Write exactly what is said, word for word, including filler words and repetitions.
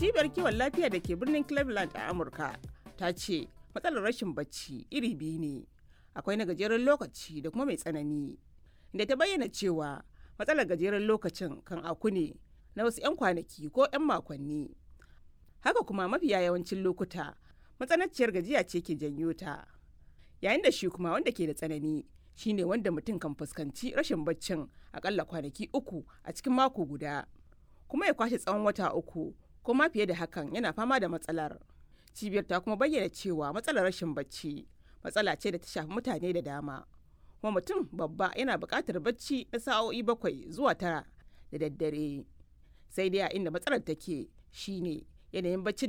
Cibiyar kiwon lafiya da ke birnin Cleveland a Amurka ta ce matsalar rashin bacci iri biyu ne, akwai na gajeren lokaci da kuma mai tsanani. Inda ta bayyana cewa matsalar gajeren lokacin kan aku ne na wasu 'yan kwanaki ko 'yan makonni. Haka kuma mafiya yawancin lokuta matsananciyar gajiya ce ke janyo ta. Yayin da shi kuma wanda ke da tsanani shine wanda mutum kan fuskanci rashin baccin akalla kwanaki uku a cikin mako guda, kuma ya kwashe tsawon wata uku ko ma fiye da hakan yana fama da matsalar. Cibiyar ta kuma bayyana cewa matsalar rashin bacci matsala ce da ta shafi mutane da dama, kuma mutum babba yana buƙatar bacci na sa'o'i bakwai zuwa tara da daddare. Sai dai a inda matsalar take shine yanayin baccin.